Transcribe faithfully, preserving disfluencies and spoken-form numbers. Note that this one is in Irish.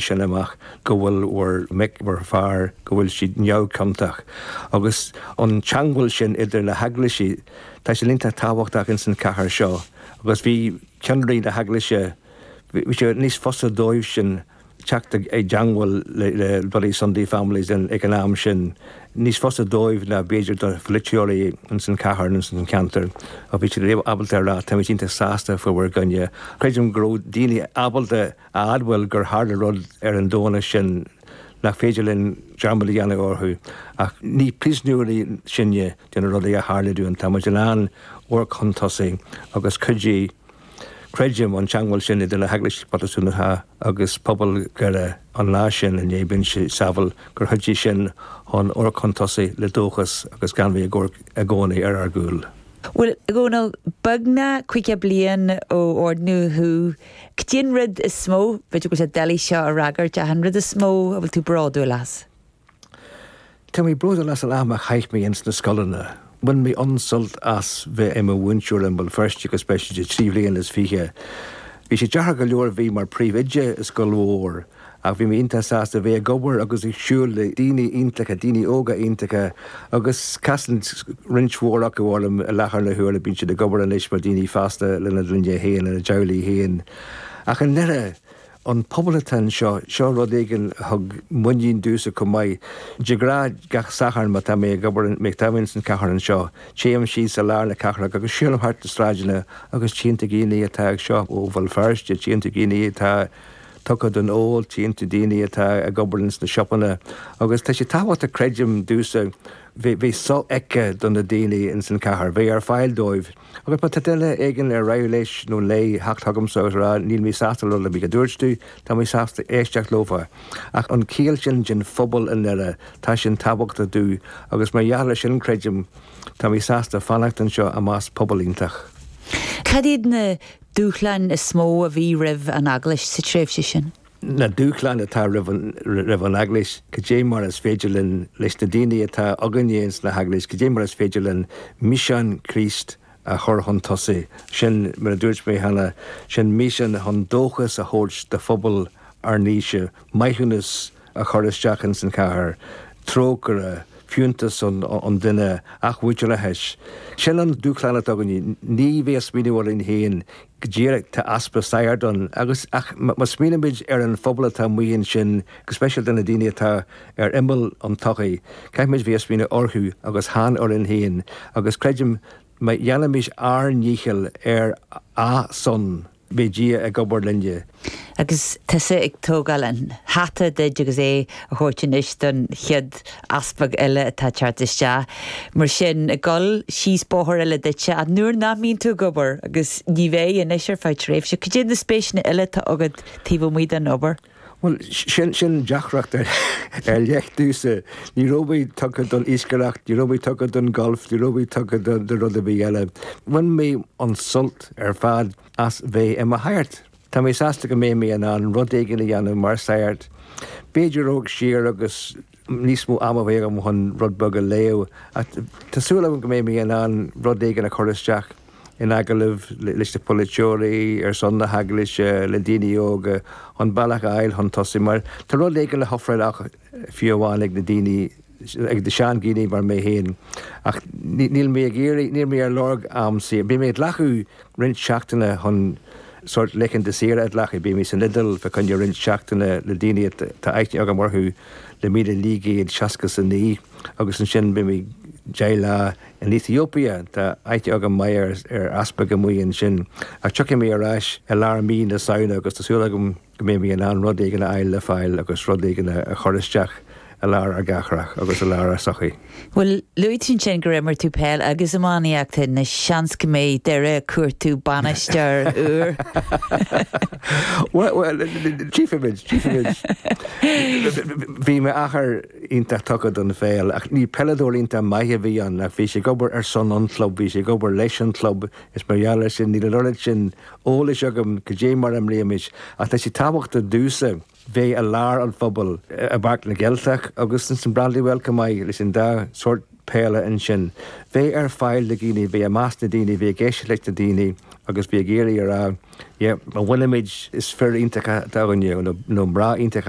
sin amach go bhfuil bhur mic bhur fear go bhfuil siad neamhchiontach. Agus an teagmháil sin idir na heaglaisí tá sé iontach tábhachtach in san cathair seo, agus bhí ceannairí na heaglaise bhí sé níos fusa dóibh sin teacht i dteagmháil le Bloody Sunday families ag an am sin níos fusa dóibh ná b'fhéidir do pholaiteoirí in san cathair in san ceantar a bhí siad ábalta rá tá iontach sásta faoi bhur gcoinne. Creidim go raibh daoine ábalta a admháil gur tharla rud ar an Domhnach sin nach féidir linn dearmad a dhéanamh orthu ach ní príosúnaigh sinne de na rudaí a tharla dúinn tá muid in ann amharc chun tosaigh agus chuidigh creidim an teagmháil sin idir na heaglaisí Protastúnacha agus pobal Dhoire an lá sin i ndiaidh Binnse Saville gur chuidigh sin chun amharc chun tosaigh le dóchas agus gan bheith ag amharc i gcónaí ar ár gcúl. Well Dhónaill beagnach caoga bliain ó ordaíodh thú, Cad é an rud is mó b'fhéidir go sé doiligh seo a fhreagairt ach an rud is mó a bhfuil tú bródúil as. Tá mé bródúil as an am a chaith mé ins na scoileanna. Bhain mé an-sult as bheith i mo mhúinteoir i mBéal Feirste agus beidh sé trí bhliain is fiche. Bhí sé deacair go leor bheith mar phríomhoide i scoil mhór, ach bhí mé iontach sásta bheith ag obair agus ag siúl le daoine iontacha, daoine óga iontacha, agus casann roinnt mhór acu orm i láthair na huaire bíonn siad ag obair anois mar daoine fásta lena gclainne féin lena dteaghlaigh féin. Ach i nDoire an pobal atá anseo seo rud éigin thug muinín domhsa chomh maith. De ghnáth gach Satharn má tá mé ag obair mé tá san cathair anseo, Téim síos i lár na cathrach agus siúlaim thart na sráideanna agus tchíonn tú daoine atá ag seo ó Bhéal Feirste, tchíonn tú daoine atá tugtha don ól, tchíonn tú daoine atá ag obair sna siopaí, agus tá sé tábhachtach creidim domhsa bheith sofheicthe do na daoine in san cathair, bheith ar fáil dóibh. Agus má tá duine éigin ar mhaith leis nó léi theacht chugamsa agus rá níl mé sásta le rud a dúirt tú, tá mé sásta éisteacht leofa. Ach an chiall sin den phobal i nDoire tá sin tábhachtach domh agus mar gheall air sin creidim tá mé sásta fanacht anseo i measc pobal iontach. Cad iad na dúshláin is mó a bhí roimh an eaglais sa tréimhse sin? na dúshláin atá roimh an eaglais, cad é mar is féidir linn leis na daoine atá againne sna heaglais, cad é mar is féidir linn misean Chríost a chur chun tosaigh sin mar a dúirt mé cheana sin misean chun dóchas a thabhairt do phobal ár n-aoise, maithiúnas a chur isteach in san chathair, trócaire, fiúntas an, an duine athmhuintearas. Sin an dúshlán atá againne ní bheith smaoineamh orainn féin go díreach tá easpa sagart ann agus ach má smaoinímid ar an phobal atá amuigh ansin go speisialta na daoine atá ar imeall an tsochaí, Caithfimid bheith smaoineamh orthu agus chan orainn féin agus creidim má dhéanaimid ár ndícheall ar a son beidh Dia ag obair linne. Agus tusa ag tógáil an hata duit agus é a thabhairt anois don chéad easpag eile atá teacht isteach. Mar sin ag dul síos bóthar eile duitse a nuair nach mbíonn tú ag obair agus ní bheidh anois ar feadh tréimhse, Cad iad na spéiseanna eile atá agat taobh amuigh den obair. Well sin sin deacracht ar ar leith domhsa ní raibh mé tugtha don iascaireacht, ní raibh mé tugtha don golf, ní raibh mé tugtha do rud ar bith eile. Bhain mé an sult ar fad as bheith i mo shagart. Tá mé sásta go mbeidh mé in ann rud éigin a dhéanamh mar shagart. B'fhéidir amharc siar agus níos mó ama bheith agam chun rud beag a léamh Tá súil agam go mbeidh mé in ann rud éigin a chur isteach in agallamh leis na polaiteoirí ar son na heaglaise le daoine óga an bealach a fháil chun tosaigh mar tá rud éigin le hofráil ach fiú amháin ag na daoine ag na seandaoine mar mé féin ach níl mé ag iarraidh níl mé ar lorg am saor. Beidh mé ag glacadh roinnt seachtaine chun sort laethanta saoire a ghlacadh, beidh mé san Iodáil fá choinne roinnt seachtaine le daoine tá aithne agam orthu le míle naoi gcéad seasca a naoi agus ansin beidh mé deich lá in Ethiopia tá aithne agam maith ar easpag amuigh ansin ach tiocfaidh mé ar ais i lár mí na Samhna agus tá súil agam go mbeidh mé in ann rud éigin a fháil le fáil agus rud éigin a chur isteach i lár ár gcathrach agus i lár ár sochaí. Well luaigh tú ansin gur imir tú peil agus iománaíocht na seans go mbeidh Doire ag cuartú bainisteoir úr. Well tchífimid tchífimid Bhí m'athair iontach tugtha don pheil ach ní peileadóir iontach maith a bhí ann ach bhí sé ag obair ar son an club, bhí sé ag obair leis an club is mar gheall air sin níl an oiread sin eolais agam cad é mar a imrímis ach tá sé tábhachtach domhsa bheith i lár an phobail i bPáirc na gCeilteach agus san Brandywell go maith leis an dá sort peile ansin. Bheith ar fáil do dhaoine, bheith i measc na daoine, bheith ag éisteacht leis na daoine agus bhí ag iarraidh a rá má bhuaimid is fir iontacha nó mná iontacha.